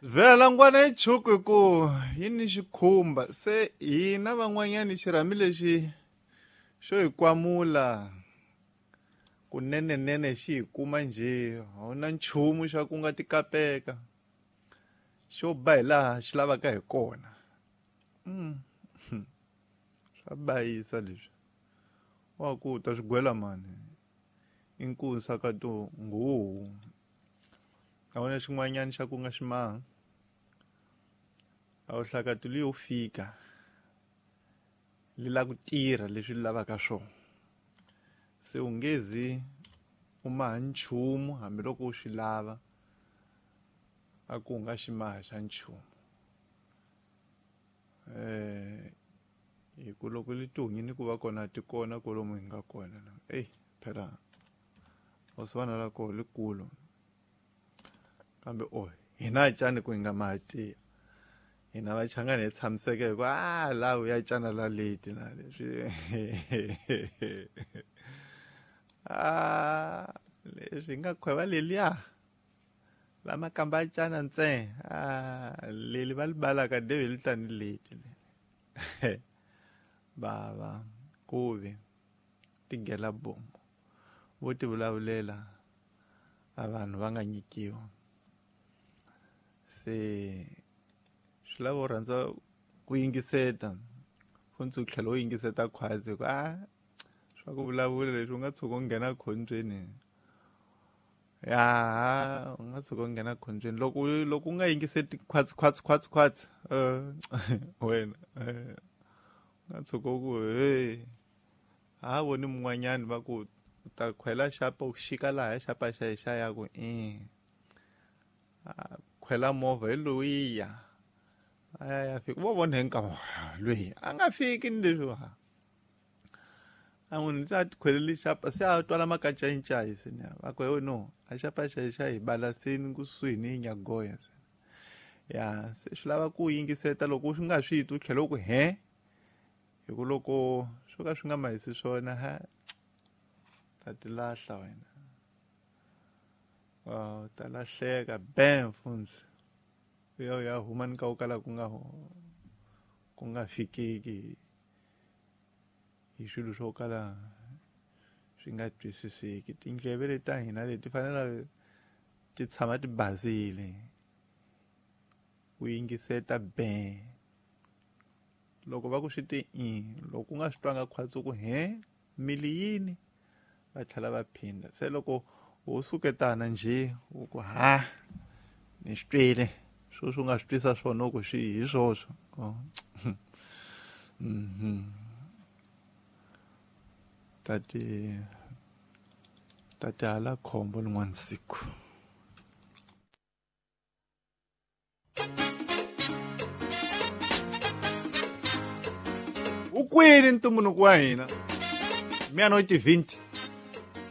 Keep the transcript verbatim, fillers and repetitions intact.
Vhela ngwana yi chuku hi ku yi ni xikhumba se hina van'wanyani xirhami lexi xo hi kwamula kunenenene xi hi kuma njhe a wu na nchumu xa ku nga tikapeka xo ba hi laha xi lavaka hi kona. Mm. Swa bayisa leswi wa ku ta swi gwela mani i nkunsa ka to nguhu a wu na xin'wanyana xa ku nga xi maha a wu hlakati leyo fika li la ku tirha leswi li lavaka swona se u nge zi u maha nchumu hambiloko u swi lava a ku u nga xi maha xa nchumu eh hi ku loko li tihunyi ni ku va kona ti kona kwalomu hi nga kona eyi phela oswana la koho likulu kambe o hina cani ku hi nga maha tiya hina vachangani hi tshamiseke hi ku a laha u ya cana la leti na leswi a leswi hi nga khweva leliya la makamba a cana ntsena a leli va li balaka deve li tani leti bava kuvi tigela bomo vo ti vulavulela a vanhu va nga nyikiwa se swi lava u rhandza ku yingiseta funtsi u tlhela u yingiseta khwatsi ku a swa ku vulavula leswi u nga tshuka u nghena khombyeni ya u nga tshuka u nghena khombyeni loko loko u nga yingiseti khwatsi khwatsi khwatsi khwatsi wena u nga tshuka u ku hey ha voni mun'wanyani va ku u ta khwela xapa u xika laha xapa xa xa ya ku i khwela movha hi loyiya a ya ya fika vo vona hi nkama loyi a nga fiki ni leswi wa a munhu se a ti khweleli xapa se a twala makacayicayi se ni va ku no a xapa xa xa hi balaseni kusuhi ni nyagoya se ya se swi lava ku yingiseta loko swi nga swi twi u tlhela u ku he hi ku loko swo ka swi nga mahisi swona ha ta ti lahla wena u ta lahleka bam funtsi yo ya huma ni ka u kala ku nga ku nga fikeki hi swilo swo kala swi nga twisiseki tindleve leti ta hina leti fanele ti tshama ti basile u yingiseta be loko va ku swi ti i loko u nga swi twanga khwatsi ku he mili yini va tlhela va phinda se loko wo suketana njhe u ku ha ni swi twile sweswi u nga swi twisa swona ku swi hi swoswo mhm tati tati hala khombo lin'wana siku. U kwini ntumbuluko wa hina miano ti vinti